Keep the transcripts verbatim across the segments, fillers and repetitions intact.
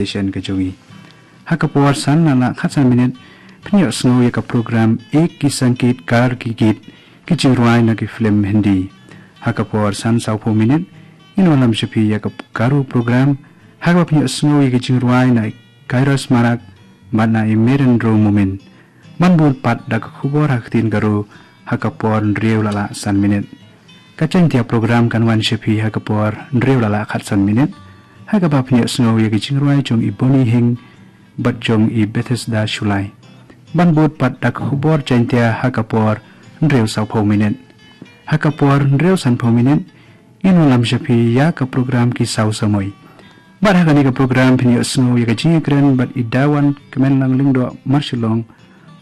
station ka jong i. Ha ka por san na la khatsan minit, pynïoh sngew ïa ka program Ek Ki Sangeetkar Ki Geet, ki jingrwai na ki film Hindi. Ha ka por san sawphew minit, ngin wallam sha phi ïa ka Garo program, ha kaba pynïoh sngew ïa ki jingrwai na i Kairos Marak, bad na i Merendro Momin. Ban bud pat da ka khubor ha ktien Garo, ha ka por hynriew la la san minit. Ka Jaintia program kan wan sha phi ha ka por hynriew la la khatsan minit. Ha kaba pynïoh sngew ïa ki jingrwai jong i Boni Hing, bad jong i Bethesda Shulai. Ban bud pat da ka khubor Jaintia ha ka por hynriew sawphew minit. Ha ka por hynriew sanphew minit, ngin wallam sha phi ïa ka program Ki Saw Samoi. Bad ha kane ka program phin ïoh sngew ïa ka jingïakren bad i Dawan Kmenlang Lyngdoh Marshillong,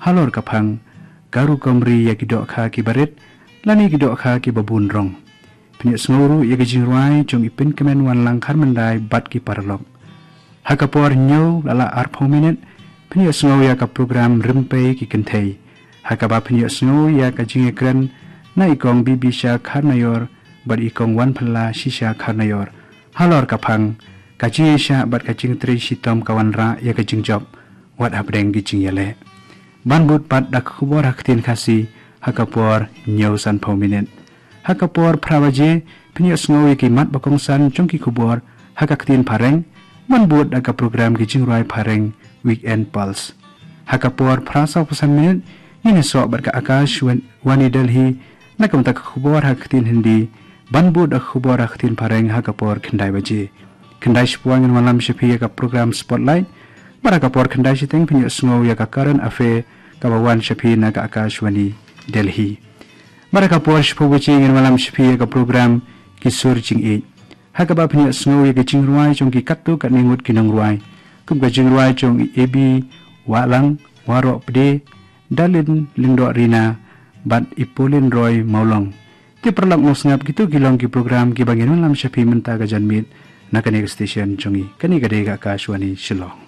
halor ka phang, Garo Kamri ïa ki dohkha kiba rit, lane ki dohkha kiba bun rong. Phin ïoh sngew ruh ïa ka jingrwai jong i Pynkmen Wanlang Kharmyndai bad ki paralok. Ha ka por hynñiew la la arphew minit, phin ïoh sngew ïa ka program Rympei Ki Kynthei. Ha kaba phin ïoh sngew ïa ka jingïakren na i Kong Bibisha Kharnaior, bad i Kong Wanphylla Shisha Kharnaior. Halor ka phang, ka jingïaishah bad ka jingtrei shitom ka wanrah ïa ka jingjop, wat hapdeng ki jingïaleh. Ban bud pat da ka khubor ha ktien Khasi, ha ka por hynñiew sanphew minit. Ha ka por phra baje, phin ïoh sngew ïa ki mat ba kongsan jong ki khubor, ha ka ktien Phareng, ban bud da ka program Ki Jingrwai Phareng, Weekend Pulse. Ha ka por phra sawphew san minit, ngin ïasoh bad ka Akashvani Delhi, na ka bynta ka khubor ha ka ktien Hindi, ban bud da ka khubor ha ka ktien Phareng ha ka por khyndai baje. Khyndai shiphew ngin wallam sha phi ïa ka program Spotlight, bad ha ka por khyndai shiteng phin ïoh sngew ïa ka Current Affair, kaba wan sha phi na ka Akashvani Delhi. Bad ha ka por shiphew baje ngin wallam sha phi ïa ka program Ki Sur Jingïeit. Ha kaba phin ïoh sngew ïa ka jingrwai jong ki katto katne ngut ki nongrwai. Kum ka jingrwai jong i A B Wahlang, Waroh Pde, Darlin Lyngdoh Rina, bad i Pauline Roy Mawlong. Te paralok nongsngap, kito ki long ki program kiba ngin wallam sha phi mynta ka janmiet, na kane ka station jong i. Kane ka dei ka Akashvani Shillong.